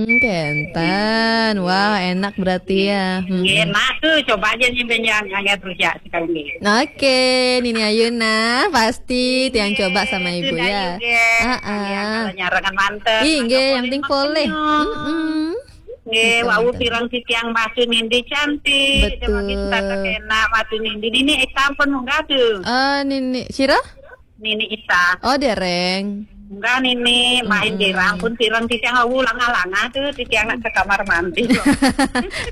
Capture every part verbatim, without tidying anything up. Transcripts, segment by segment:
Hmm, kenten. Wah, enak berarti ya. Hmm. Enak tuh, coba aja nih, ben yang anget rujak sekali. Oke, Nini Ayuna, pasti tiang coba sama ibu ya. Heeh. Kalau nyarangan manten. Ih, nggih, yang penting poleh. Mm-mm. Nggih, wau pirang titiang batu nindi cantik. Betul. Demi kita kena batu nindi. Nini Ita pun munggah tuh. Eh, Nini, sira? Nini Ita. Oh, dereng. Munggah Nini, main dereng pun pirang titiang wau langa-langa tuh, titiang nak ke kamar mandi.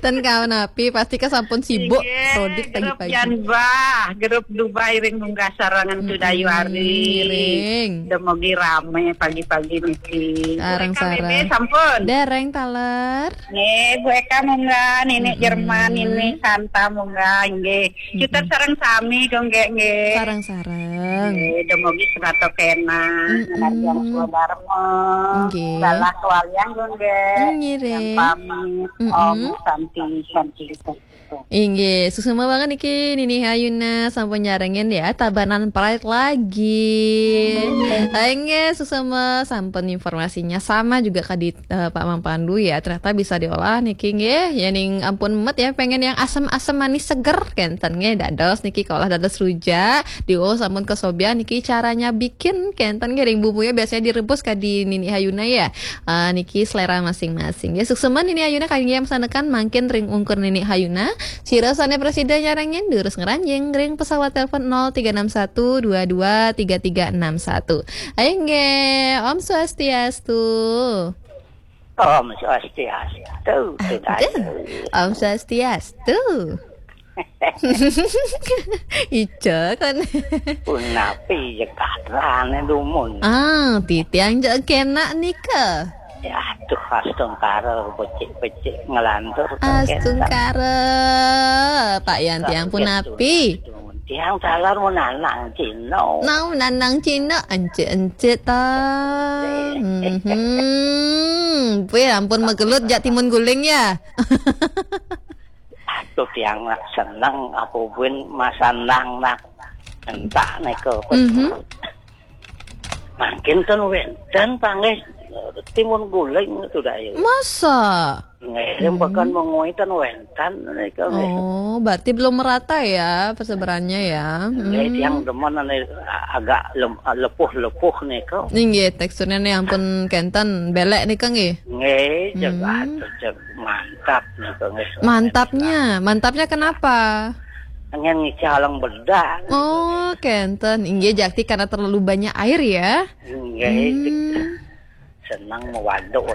Ten kawan api, pasti ke sampun sibuk. Nggih, prodit grup pagi-pagi. Jan bah, grup Dubai ring munggah sarangan tuh dayu hari. Ring. Demogi rame pagi-pagi niki. Sarang-sarang. Sampun. Dereng taler. Nggih, Bu Eka munggah, Nini Jerman, Nini Santa munggah, nggih. Kita sareng sami, Gung, nggih, nggih. Sareng-sareng. Nggih, demogi sebato kena, ngenarjang swadarma. Nggih. Dalah kewaliang, Gung, nggih. Ngiring. Yang pamit, Om Santi, Santi. Inggih, suksma banget niki Nini Hayuna sampun nyarengin ya, Tabanan Pride lagi. Inggih, suksma sampun informasinya sama juga kadi eh, Pak Mang Pandu ya, ternyata bisa diolah niki nggih. Ya ning ampun met ya, pengen yang asem-asem manis seger kenten nggih, dados niki kaolah dados rujak, diuh sampun kesobian niki caranya bikin kenten nggih, ring bumbunya biasanya direbus kadi Nini Hayuna ya. Eh, niki selera masing-masing ya. Suksma Nini Hayuna kangge yang pesanekan mangkin ring ungkur Nini Hayuna. Sira sane presida nyarengin durus ngranjing ring pesawat telepon nol tiga enam satu dua dua tiga tiga enam satu. Ayo nggih, Om Swastiastu. Om Swastiastu, Aduh, Om Swastiastu. Ijo kan. Punapi jekatrane dumun. Ah, titiang jek kena nika. Ya, aduh, astungkara becik-becik ngelantur. Astungkara, Pak Yan, tiang punapi. Tiang talar menanang Cina. Nau nanang Cina, encik-encik ta. Mhm. Wih, ampun megelut jak timun guling ya. Aduh, tiang nak seneng apa buin masandang nak entak nika. Mhm. Mangkin ten wenten panggih timun guling itu dah ya. Masa? Nggih, bahkan mengui ten wenten nika nggih. Oh, berarti belum merata ya persebarannya ya. Nggih, tiang demen ane agak lem-, lepuh-lepuh nika. Nggih, teksturnya nih ampun kenten belek nika nggih. Nggih, jeg aduh, jeg mantap nika nggih. Mantapnya, mantapnya kenapa? Ngen ngicalang bedak. Oh, kenten. Inggih, jakti karena terlalu banyak air ya. Nggih. Hmm. Senang mewaduk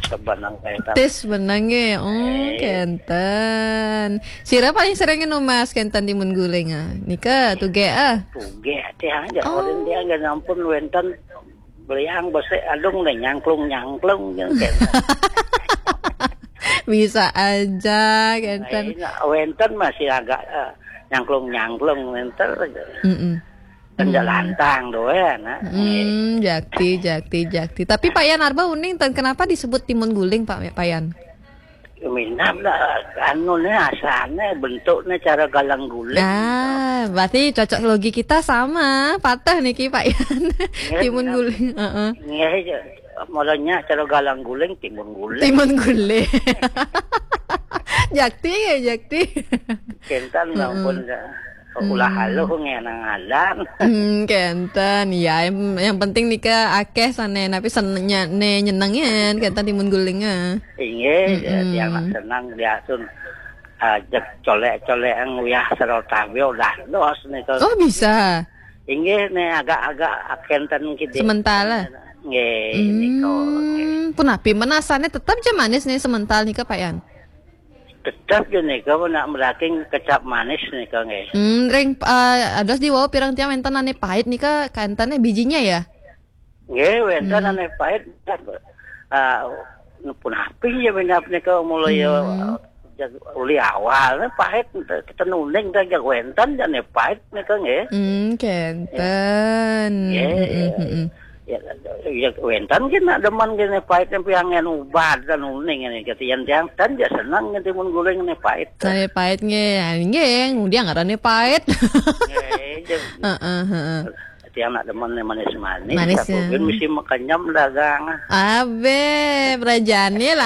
sebenang kenten. Tis benang nggih. Oh, kenten. Sira paling sering ngenu Mas kenten timun guling ah. Nika tuge ah. Tuge tiang aja orang tiang nggih ampun wenten beliang besik adung deh nyangklung-nyangklung gitu. Bisa aja kenten. Nah, ini wenten masih agak eh, nyangklung-nyangklung wenten. Mm-mm. Kan lantang doyan, nah. Hmm, jakti, jakti, jakti. Tapi Pak Yan Arba uning ten kenapa disebut timun guling Pak, Pak Yan? Minam lah, anu nih asalnya bentuknya cara galang guling. Ah, berarti cocok logi kita sama. Patah niki Pak Yan. Timun guling, heeh. Nggih, ya. Mulanya cara galang guling timun guling. Timun guling. Jakti ya, jakti. Kenten ampun dah. Ulah haluh ngenang alam. Hmm, kenten. Ya, yang, yang penting nika akeh sane, tapi sen-, nya-, ne nyenengen kenten timun guling ah. Inggih, dia nak senang dia sun ah, jeg colek-colek nguyah sarta bio dados nika. Oh, bisa. Inggih, ne agak-agak kenten kidi. Sementara. Nggih, nika. Hmm, punapi menasane tetap je manis nih semental nika Pak Yan. Tetap je nika nak meraking kecap manis nika nggih. Hmm, ring eh, ados di wau pirang tiang wenten ane pahit nika kentene bijinya ya? Nggih, wenten ane pahit. Ah, punapi ya minap nika mulai ya, ah, jag-, uli awal ne pahit kita nuning dah jag wenten jane pahit nika nggih. Hmm, kenten. Nggih. Mm-mm, mm-mm. Ya, ya wenten ki nak demen kene pahit ne piangen ubat dan uning ne ketian tiang ten ya seneng nge timun guling ne pahit. Sane pahit nggih. Ah, nggih, ngudiang ngarane pahit. Nggih, je. Heeh, heeh. Tiang nak demen ne manis-manis. Manis, tapi ya. Mesti makan nyam dagang. Abe, berajane